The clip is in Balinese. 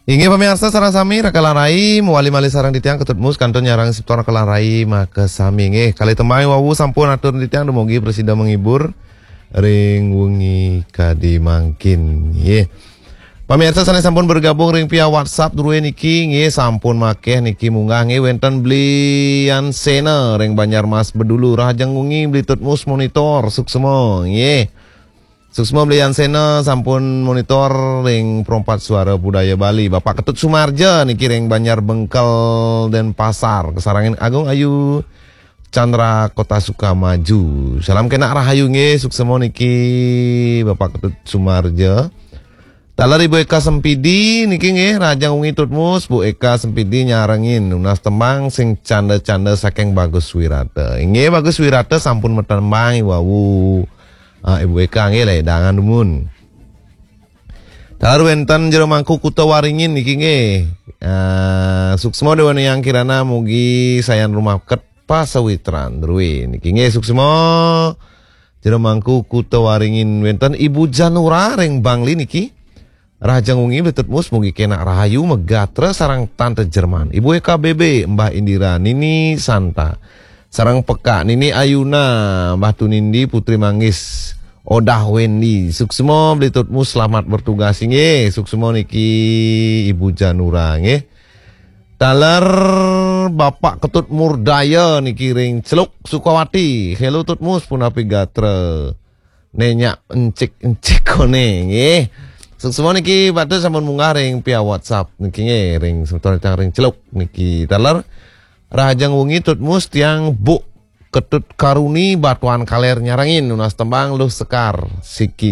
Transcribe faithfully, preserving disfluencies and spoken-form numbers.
Inggih pamiarsa sareng sami, Raka lan Rai mawali malih sareng titiang Ketut Mus kantun nyarengin semeton Raka lan Rai makasami. Inggih, kalih tembang wau sampun atur titiang, dumugi prasida menghibur ring wengi kadi mangkin. Inggih. Pamiarsa sane sampun bergabung ring via WhatsApp druwe niki, nggih, sampun makeh niki munggah, nggih, wenten Bli Ansena ring Banjarmas Bedulu, rahajeng wengi Bli Tutmus monitor, suksma, nggih. Suksma Bli Ansena sampun monitor ring Perempat Suara Budaya Bali, Bapak Ketut Sumarja niki ring Banjar Bengkel Denpasar, kasarengin Agung Ayu Chandra Kota Sukamaju. Salam kenak rahayu nggih, suksma niki Bapak Ketut Sumarja. Taler Ibu Eka Sempidi niki nggih, rahajeng wengi Tutmus, Bu Eka Sempidi nyarengin nunas tembang sing canda-canda saking Bagus Wirata. Inggih, Bagus Wirata sampun matembang wau. Ah, Ibu Eka nggih, ledangan dumun. Taler wenten Jero Mangku Kuta Waringin niki nggih. Ah, suksma Dewa Nayang Kirana, mugi sayan rumaket pasawitran druwe niki nggih, suksma. Jero Mangku Kuta Waringin, wenten Ibu Janura ring Bangli niki. Rahajeng wengi Bli Tutmus, mugi kenak rahayu, megatra sareng Tante Jerman, Ibu Eka B B, Mbah Indira, Nini Santa, sareng Peka, Nini Ayuna, Mbah Tunindi, Putri Manggis, Odah Wendy. Suksma Bli Tutmus, selamat bertugas inggih. Suksma niki Ibu Janura nggih. Taler Bapak Ketut Murdaya niki ring Celuk Sukawati. Halo Tutmus, punapi gatra? Nenyak encik-encik kone nggih. Suksma niki Bapak sampun munggah ring via WhatsApp niki nggih, ring semeton titiang ring Celuk niki. Taler rahajeng wengi Tutmus, tiang Bu Ketut Karuni Batuan Kaler nyarengin nunas tembang Luh Sekar siki